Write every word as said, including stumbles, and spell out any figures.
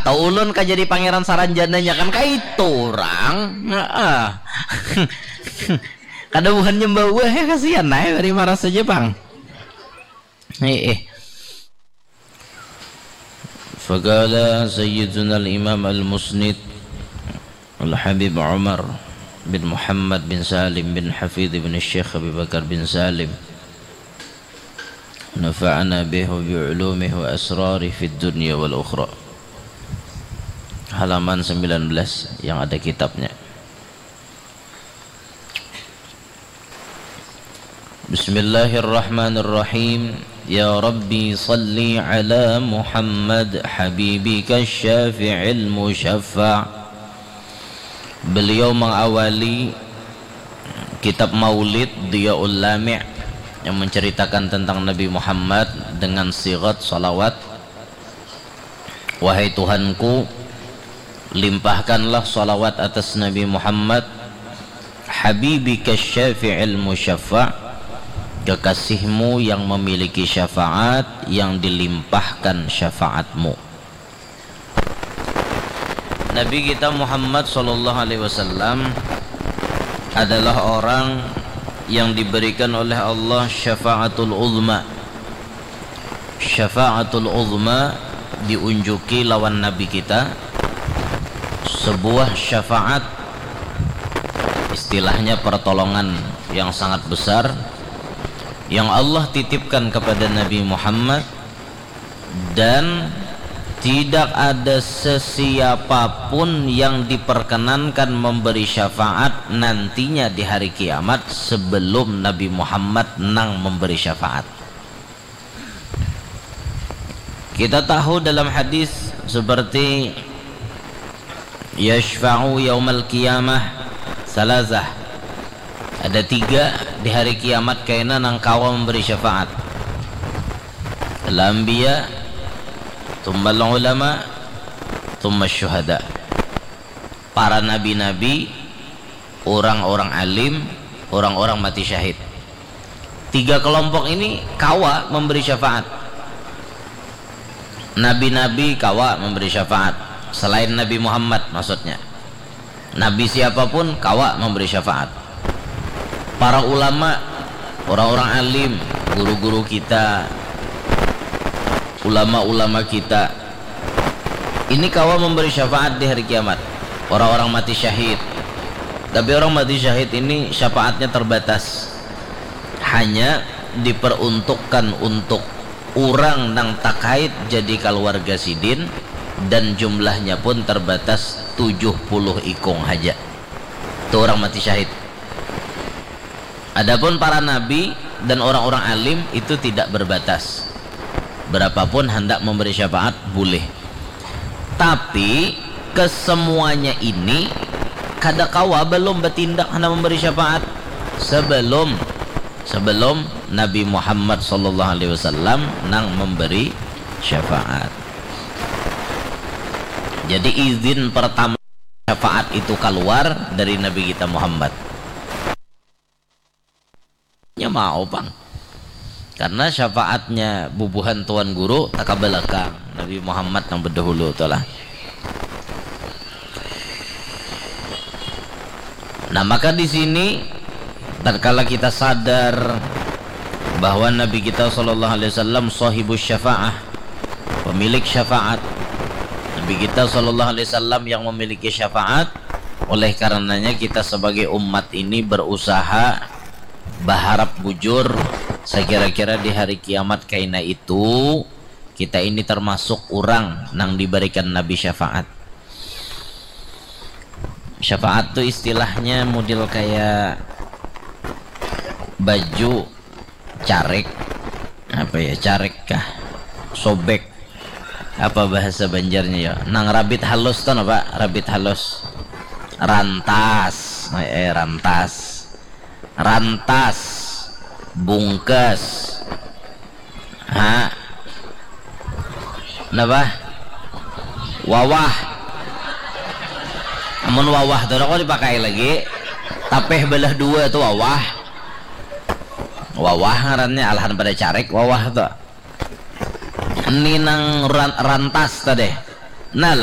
Kau ulun ka jadi pangeran saranjananya kan kaitu urang. Heeh. Kada buhan nyembah buah ya kasihan nah bari marasa ja pang. Heeh. Faqala Sayyiduna al-Imam al-Musnid al-Habib Umar bin Muhammad bin Salim bin Hafid bin Syekh Abi Bakar bin Salim, nafa'ana bihi wa bi ulumihi wa asrari fid dunya wal ukhra. Halaman sembilan belas yang ada kitabnya. Bismillahirrahmanirrahim. Ya Rabbi salli ala Muhammad habibika syafi'il musyaffa'. Beliau mengawali kitab Maulid Diyaul Lami' yang menceritakan tentang Nabi Muhammad dengan sigat salawat. Wahai Tuhanku, limpahkanlah salawat atas Nabi Muhammad, habibika syafi'il musyaffa', kekasihmu yang memiliki syafaat, yang dilimpahkan syafaatmu. Nabi kita Muhammad sallallahu alaihi wasallam adalah orang yang diberikan oleh Allah syafaatul uzma. Syafaatul uzma diunjuki lawan Nabi kita, sebuah syafaat, istilahnya pertolongan yang sangat besar yang Allah titipkan kepada Nabi Muhammad, dan tidak ada sesiapa pun yang diperkenankan memberi syafaat nantinya di hari kiamat sebelum Nabi Muhammad nang memberi syafaat. Kita tahu dalam hadis seperti yashfa'u yaumal qiyamah salasah. Ada tiga di hari kiamat kaina nang kawa memberi syafaat. Al-anbiya, tsummal ulama, tsummas syuhada. Para nabi-nabi, orang-orang alim, orang-orang mati syahid. Tiga kelompok ini kawa memberi syafaat. Nabi-nabi kawa memberi syafaat selain Nabi Muhammad, maksudnya. Nabi siapapun kawa memberi syafaat. Para ulama, orang-orang alim, guru-guru kita, ulama-ulama kita, ini kawa memberi syafaat di hari kiamat. Orang-orang mati syahid. Tapi orang mati syahid ini syafaatnya terbatas. Hanya diperuntukkan untuk urang nang takait jadi kaluarga sidin, dan jumlahnya pun terbatas tujuh puluh ikung haja. Itu orang mati syahid. Adapun para nabi dan orang-orang alim itu tidak berbatas. Berapapun handak memberi syafaat, boleh. Tapi kesemuanya ini kada kawa balum batindak handak memberi syafaat sebelum, sebelum Nabi Muhammad sallallahu alaihi wasallam nang memberi syafaat. Jadi izin pertama syafaat itu kaluar dari Nabi kita Muhammad. Nya mau pang. Karena syafaatnya bubuhan Tuan Guru takabalakang Nabi Muhammad nang bedahulu tu lah. Nah, maka di sini tatkala kita sadar bahwa Nabi kita sallallahu alaihi wasallam sahibus syafaah, pemilik syafaat. Nabi kita sallallahu alaihi wasallam yang memiliki syafaat, oleh karenanya kita sebagai umat ini berusaha baharap bujur, sekira-kira di hari kiamat kaina itu kita ini termasuk urang nang dibarikan Nabi syafaat. Syafaat tu istilahnya model kaya baju carik, apa ya, carik kah, sobek, apa bahasa Banjarnya ya, nang rabit halus tu napa, rabit halus, rantas, eh, rantas, rantas, bungkas, ha, napa, wawah. Amun wawah tu kada kawa dipakai lagi, tapeh balah dua tu wawah. Wawah ngarannya, alahan pada carik wawah tu. Ini nang ran-, rantas tadi. Nah,